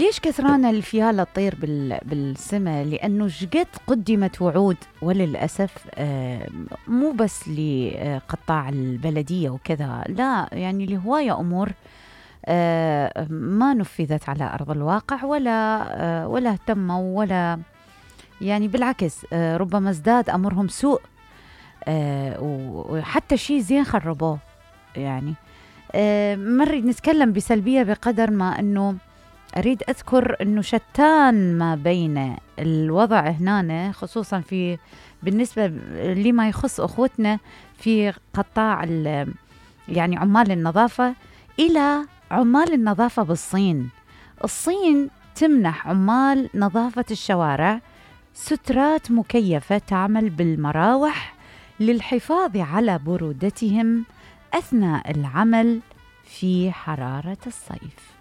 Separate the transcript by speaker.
Speaker 1: ليش كثرانة الفيالة تطير بالسماء؟ لأنه شقد قدمت وعود، وللأسف مو بس لقطاع البلدية وكذا، لا يعني لهواية أمور ما نفذت على أرض الواقع، ولا اهتموا، ولا يعني بالعكس ربما ازداد أمرهم سوء، وحتى شيء زين خربوه. يعني ما نريد نتكلم بسلبية بقدر ما أنه أريد أذكر أنه شتان ما بين الوضع هنا، خصوصا بالنسبة لما يخص أخوتنا في قطاع يعني عمال النظافة، إلى عمال النظافة بالصين. الصين تمنح عمال نظافة الشوارع سترات مكيفة تعمل بالمراوح للحفاظ على برودتهم أثناء العمل في حرارة الصيف.